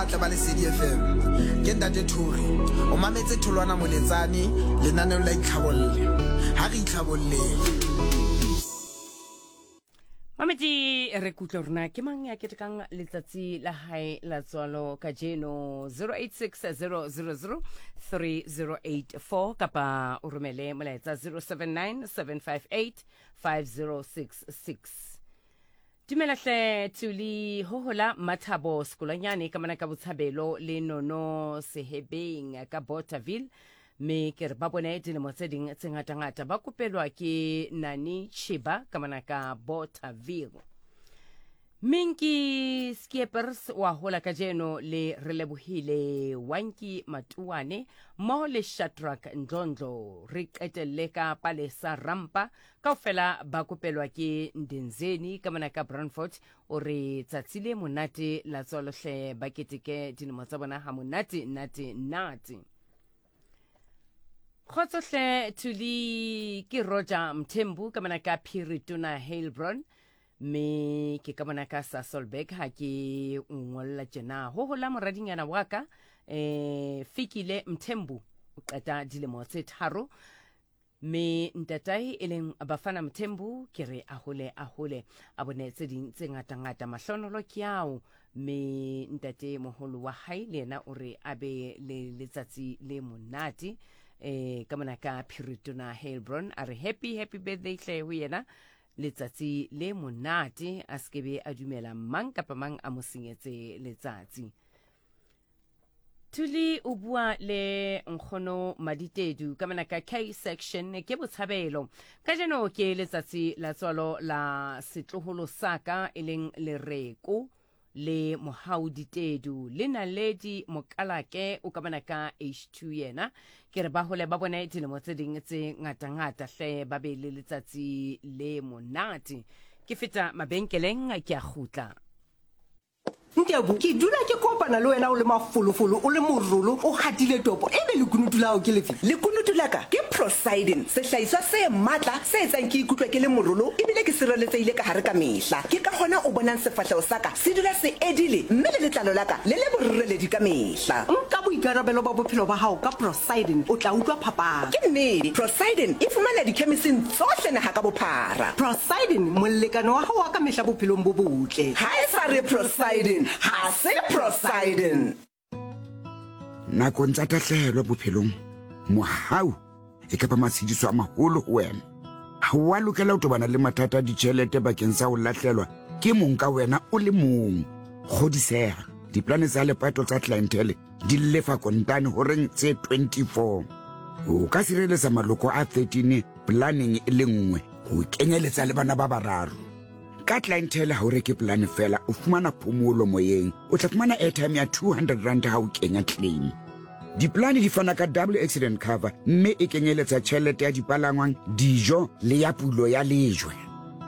Tle ba Lesedi FM. Ke Ntate Thuri. O mametse Tholwana Moletsane lenaneong la Itlhabolle. Ha re itlhabolleng. Mamedi re kutlwe rona ke mang ya ketekang letsatsi la hae la tswalo kajeno 086 000 3084 kapa o romele molaetsa 079 758 5066 Dumela hle Tuli hohola Mathabo Sekolanyane ka mona ka Botshabelo le Nono Sehebeng ka Bothaville me ke re ba bone dilemo tse ding tse ngatangata ba kopelwa ke Nani Chiba ka mona ka Bothaville. Minki Skiepers wa hola kajeno le Relebohile Wanki Matuane mmoho le Shadrack Ndlondlo re qetelle ka Palesa Rampa Kaofela ba kopelwa ke Ndenzeni ka mona ka Brandfort o re tsatsi le monate la tswalo hle ba keteke dilemo tsa bona ha monate nate nate. Kgotso hle Thuli ke Roger Mthembu ka mona ka Phiri Tona Heilbron mme ke ka bona ka Sasolburg ha ke ngolla tjena ho hola moradinyana wa ka eh Fikile Mthembu o qeta dilemo tse tharo Mme ntatae e leng Bafana Mthembu ke re a hole a hole a bone tse ding tse ngatangata mahlonolo ke ao mme ntate moholo wa hae le yena o re a be le letsatsi le monate eh ka mona ka Phiritona Heilbron a re happy happy birthday hle ho yena letsatsi le monate a sekebe a dumela mang kapa mang a mo senyetse letsatsi Thuli o bua le nkgono Maditedu ka mona ka K section ke botshabelo. Kajeno ke letsatsi la tswalo la setloholo sa ka e leng Lereko le Mohau Ditedu le Naledi Mokalake o ka mona ka H2 yena. Ke re ba hole ba bone dilemo tse ding tse ngata-ngata hle ba be le letsatsi le monate. Ke feta mabenkeleng ke a kgutla. Ntebu, ke dula ke kopana le wena o le mafolofolo, o le morolo, o gatile topo, ebe lekunutu la gago ke lefe? Lekunutu la ka ke Procyden, sehlahiswa se matla se etsang ke ikutlwe ke le morolo ebile ke sireletsehile ka gare ka mehla. Ke ka gona o bonang sefahlego sa ka se dula se edile mme le letlalo la ka le le boreledi ka mehla. Nka boikarabelo ba bophelo ba gago ka Procyden, o tla utlwa phapang. Ke nnete, Procyden e fumaneha dikhemising tsohle naga ka bophara. Procyden, molekane wa gago wa ka mehla bophelong bo botle. Ga e sa re Procyden, ga se Procyden. Nakong tsa tahlehelo bophelong, mohau e ka ba matshediso a maholo ho wena. Ha o a lokela ho tobana le mathata a ditjhelete bakeng sa ho lahlelwa ke mong ka wena o le mong. Kgodiseha, diplane tsa lepato tsa Clientele di lefa kontane horeng tse 24. O ka sireletsa maloko a 13 planeng e le nngwe ho kenyeletsa le bana ba bararo. Ka Clientele ha o reke polane fela, o fumana phomolo moyeng. O tla fumana airtime ya 200 rand ha o kenya claim. Dipolane di fana ka double accident cover mme e kenyeletsa tjhelete ya dipalangwang, dijo le ya pulo ya lejwe.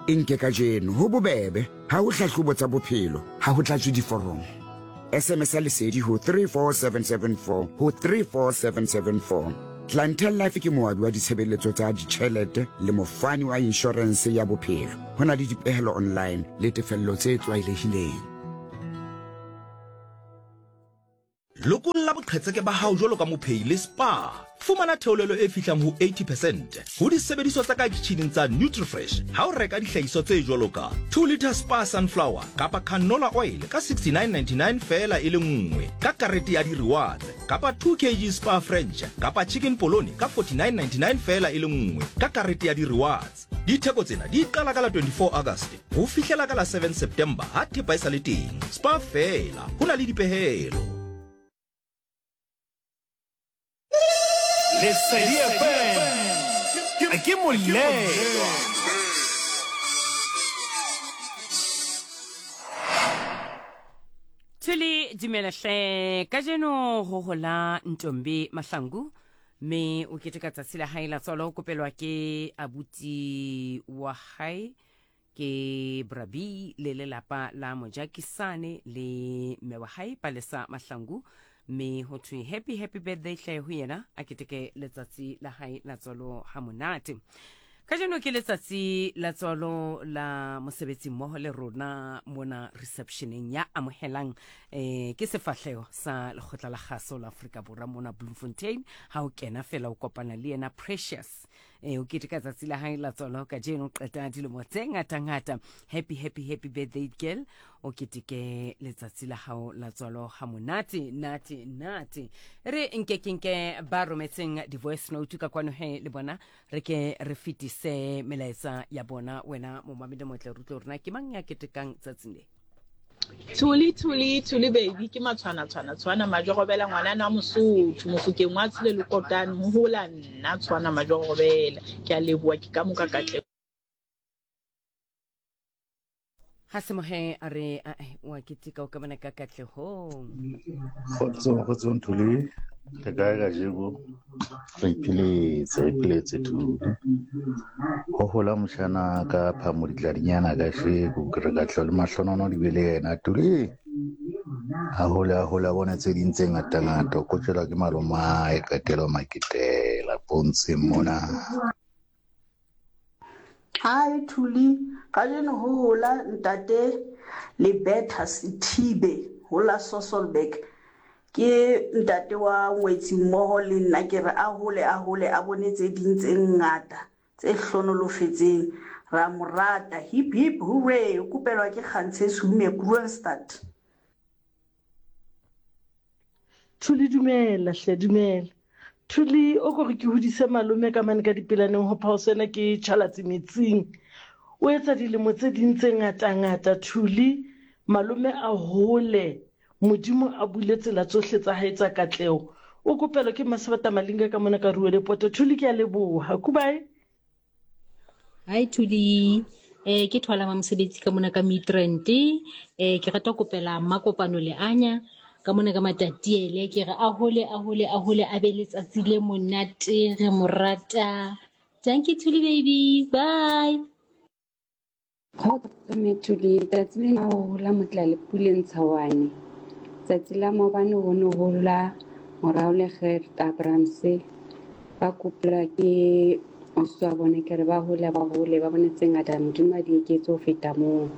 E nke kajeno, ho bobebe, ha ho hlahlobo tsa bophelo, ha ho tlatswe diforomo. SMS ya Lesedi ho 34774 ho 34774. Clientele Life ke moabi wa ditshebeletso tsa ditjhelete le mofani wa inshorense ya bophelo. Ho na le dipehelo online le tefello tse tlwaelehileng. Lokolla boqhetseke ba hao jwalo ka mophehi le Spar. Fumana theolelo e fihlang ho 80 percent ho disebediswa tsa ka kitjhining tsa Nutrifresh ha o reka dihlahiswa tse jwalo ka 2 litre Spar sunflower kapa canola oil ka 69.99 feela e le nngwe ka karete ya di-rewards kapa 2 kg Spar French kapa chicken polony ka 49.99 feela e le nngwe ka karete ya di-rewards. Ditheko tsena di qala ka la 24 August ho fihlela ka la 7 September ha thepa e sa le teng. Spar feela ho na le dipehelo. Lesedi FM ke molelwa. Thuli dumela hle kajeno ho hola Ntombi Mahlangu me o keteka tsatsi la hae la tswalo o kopelwa ke abuti wa hae Ke Brabi le lelapa la Mojakisane le mme wa hae Palesa Mahlangu mme ho thwe happy happy birthday hle ho yena a keteke letsatsi la hae la tswalo ha monate. Kajeno ke letsatsi la tswalo la mosebetsi mmoho le rona mona receptioneng ya amohelang eh, ke sefahleho sa lekgotla la kgaso la Afrika Borwa mona Bloemfontein. Ha o kena fela o kopana le yena Precious. Eh, o keteka tsatsi la hae la tswalo kajeno, o qeta dilemo tse ngata-ngata. Happy, happy, happy birthday girl. O keteke letsatsi la hao la tswalo ha monate, nate, nate. Re nke ke nke ba rometseng di-voice note ka kwano he le bona re ke re fetise melaetsa ya bona. Wena momamedi motle, re utlwe hore na ke mang ya ketekang tsatsing le. Thuli, Thuli, Thuli baby, ke matshwana tshwana tshwana majorobela ngwanana wa Mosotho, Mofokeng wa tshile lekotane, ho hola nna tshwana majorobela. Ke a leboha, ke ka moka katleho. Ha se mohe a re ae wa keteka o ka bona ka katlehong. Kgotso, kgotso Nthuli, le kae kajeko? Re ipheletse, re ipheletse Thuli. Ho hola motjhana ka phamo ditladinyana kajeko, ke re katleho le mahlonono di be le yena Thuli. A hole, a hole, a bone tse ding tse ngata-ngata, o kotjelwa ke malomae, qetelo maketela pontsheng mona. Hi Thuli, kajeno ho hola ntate Lebetha Sethibe ho la Sasolburg. Ke ntate wa ngwetsi mmoho le nna ke re a hole a hole a bone tse ding tse ngata tse hlonolofetseng. Ra mo rata. Hip hip hooray! O kopelwa ke Kgantshe Sume Kroonstad. Thuli dumela hle dumela. Thuli o ko re ke hodise malome ka mane ka dipelaneng ho phaoso ena ke tjhalatse metsing. O etsa dilemo tse ding tse ngata-ngata Thuli, malome a hole, Modimo a bule tsela tsohle tsa hae tsa katleho. O kopelwa ke Mmasebata Malinga ka mona ka Ruwelepoto. Thuli ke a leboha. Kubae. Hi Thuli, eh ke thola ma mosebetsi ka mona ka Midrand. Eh ke rata kopela Mmakopano le Anya ka mona ka Matatiele ke re a hole a hole a hole a be letsatsi le monate re mo rata. Thank you Thuli baby. Bye. Kgotso mme Thuli, tsatsi lena ho hola Motlalepule Ntshawane. Tsatsi la maobane ho ne ho la morao le Gert Abrahamse. Ba kopelwa ke ausi wa bone ke re ba hole ba hole ba bone tse ngata Modimo a di eketse ho feta moo.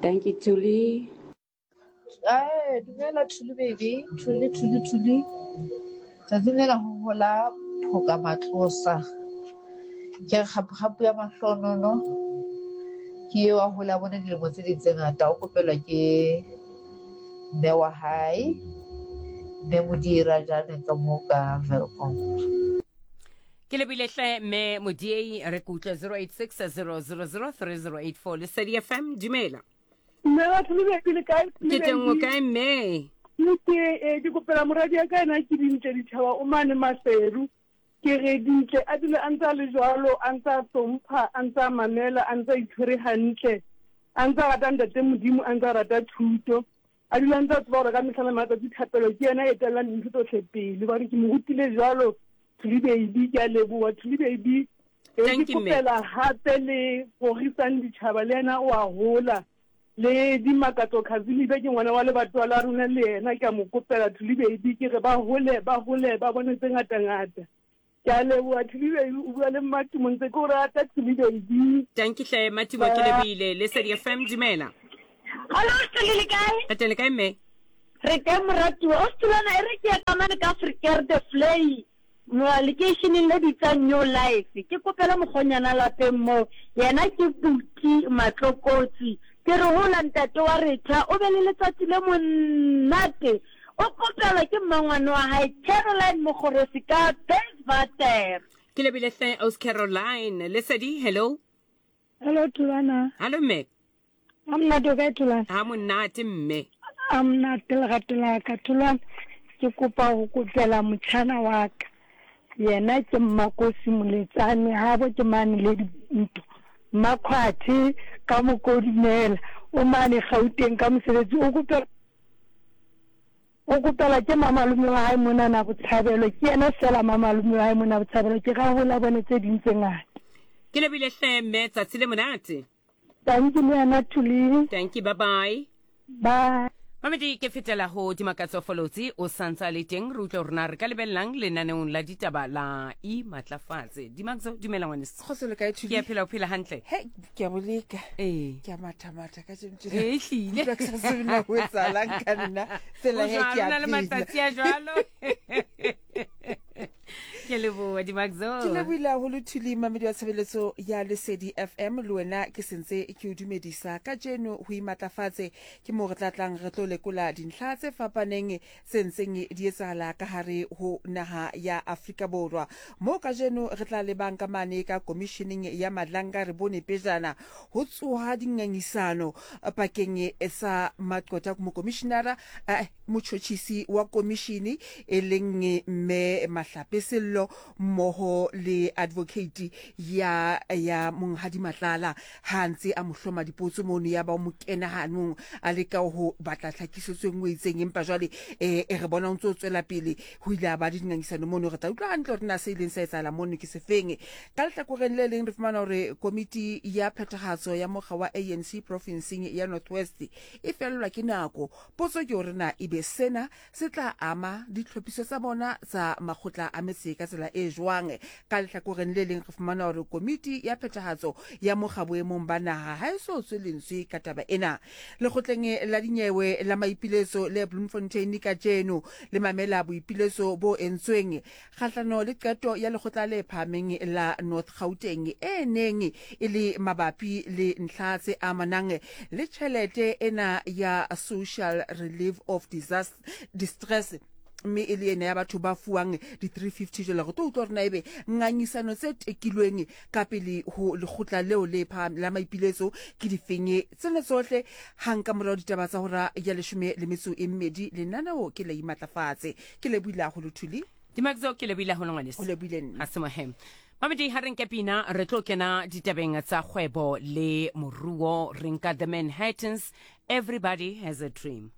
Dankie Thuli. Ae, dumela Thuli baby, Thuli Thuli Thuli. Tsatsing lena ho hola phoka matlosa. Ke re kgapu-kgapu ya mahlonono ke eo a hola bone dilemo tse ding tse ngata o kopelwa ke mme wa hae mme Modira jaaneng ka mo ka Welkom. Ke lebile hle mme Modiei re ke utlwe 086 000 3084 Lesedi FM dumela. Mme batho le bedi le kae? Ke teng o kae mme? Ke eh, ke kopela moradi ya ka ena ke dintle ditšhaba o mane Maseru. Ke re dintle a dule a ntse a le jwalo, a ntse a hlompha, a ntse a mamela, a ntse a itshwere hantle, a ntse a rata ntate Modimo, a ntse a rata thuto. A dula a ntse a tseba gore ka mehla le matsatsi thapelo ke yena e etellang dintho tsohle pele. Hobane ke mo rutile jwalo Thuli baby, ke a leboha Thuli baby. E Thank ke you, mme. kopela hape le Rorisang Ditjhaba le yena o a hola. Le Dimakatso Khazimibe ke ngwana wa lebatowa la rona le yena ke a mo kopela Thuli baby ke re ba hole ba hole ba bone tse ngata ngata. Ke a leboha Thuli baby o bua le Mmatimo ntse ke o rata Thuli baby. Tanki hle Matimo ke lebohile. Lesedi FM dumela. Hallo Thuli le kae? Re teng le kae mme? Re teng moratuwa. O Thulana e re ke ye ka mane ka Afrikaer de Vlei lekeisheneng le bitsang New Life. Ke kopele mokgonyana lapeng moo. Yena ke Buti Matlokotsi. Ke re hola ntate wa Retha o be le letsatsi le monate. O kopelwa ke mmangwane wa hae Caroline Mokgorosi ka Bayswater. Ke lebile hle aus Caroline. Lesedi hello. Hello Thulana. Hallo mme. A monate o kae Thulana? Ha monate mme. A monate lerato la ka Thulana. Ke kopa go kopela motšhana wa ka. Yena ke Mmakosi Moletsane habo ke mane le dintho. Mmakhwathe ka Mokodumela o mane Gauteng ka mosebetsi o kopela O kopelwa ke mamalome wa hae monana Botshabelo. Ke yena feela mamalome wa hae mona Botshabelo. Ke ra hola bone tse ding tse ngata. Ke lebile hle mme tsatsi le monate. Tanki le wena Thuli. Tanki bye bye. Bye. Mamedi ke fetela ho Dimakatso Folotsi o santsa le teng re utlwe hore na re ka lebellang lenaneong la ditaba la imatlafatse. Dimakatso dumela ngwaneso. Kgotso le kae Thuli? Ke a phela o phela hantle. He ke a boleka. Ee. Ke a matha matha ka tšeno. Ee, ehlile. Utlwa ke sa tsebe na ho etsahalang ka nna. Fela he ke a O na le phela. matsatsi a jwalo. Ke leboha Dimakatso. Ke lebohile haholo Thuli mamedi wa tshebeletso ya Lesedi FM le wena ke sentse ke o dumedisa kajeno ho imatlafatse Ke moo re tla tlang re tlo lekola dintlha tse fapaneng tse ntseng di etsahala ka hare ho naha ya Afrika Borwa. Moo kajeno re tla lebang ka mane ka komisheneng ya Madlanga re bone pejana ho tsoha dingangisano pakeng sa maqwetha mokomishinara eh, motjhotjhisi wa komishini e leng Mme Mahlape Sello mmoho le advocate ya ya Monghadi Matlala ha a ntse a mo hloma dipotso mono ya ba o mo kena hanong a leka ho batla tlhakisetso e nngwe e itseng empa jwale eh, e re bona o ntse o tswela pele ho ile a ba le dingangisano mono re tla utlwa hantle hore na se ileng sa etsahala mono ke sefeng ka lehlakoreng le leng re fumana hore komiti ya phethahatso ya mokga wa ANC profinseng ya North West e fellwa ke nako potso ke hore na ebe sena se tla ama ditlhophiso tsa bona tsa makgotla a metse ka tsela e jwang. Ka lehlakoreng le leng re fumana hore komiti ya phethahatso ya mokga boemong ba naha ha e so tswe lentswe ka taba ena. Lekgotleng la dinyewe la maipiletso le Bloemfontein kajeno le mamela boipiletso bo entsweng kgahlano le qeto ya lekgotla le phahameng la North Gauteng e neng e le mabapi le ntlha tse amanang le tjhelete ena ya Social Relief of Distress mme e le ena ya batho ba fuwang di-350 jwale re tlo utlwa hore na ebe ngangisano tse tekilweng ka pele ho lekgotla leo le phahameng la maipiletso ke difeng tsena tsohle hang ka morao ditaba tsa hora ya leshome le metso e mmedi lenaneo ke la imatlafatse Ke lebohile haholo Thuli. Dimakzo ke lebohile haholo ngwaneso. O lebohile nna. Ha se mohe. Mamedi ha re nke pina re tlo kena ditabeng tsa kgwebo le moruo re nka The Manhattans Everybody Has a Dream.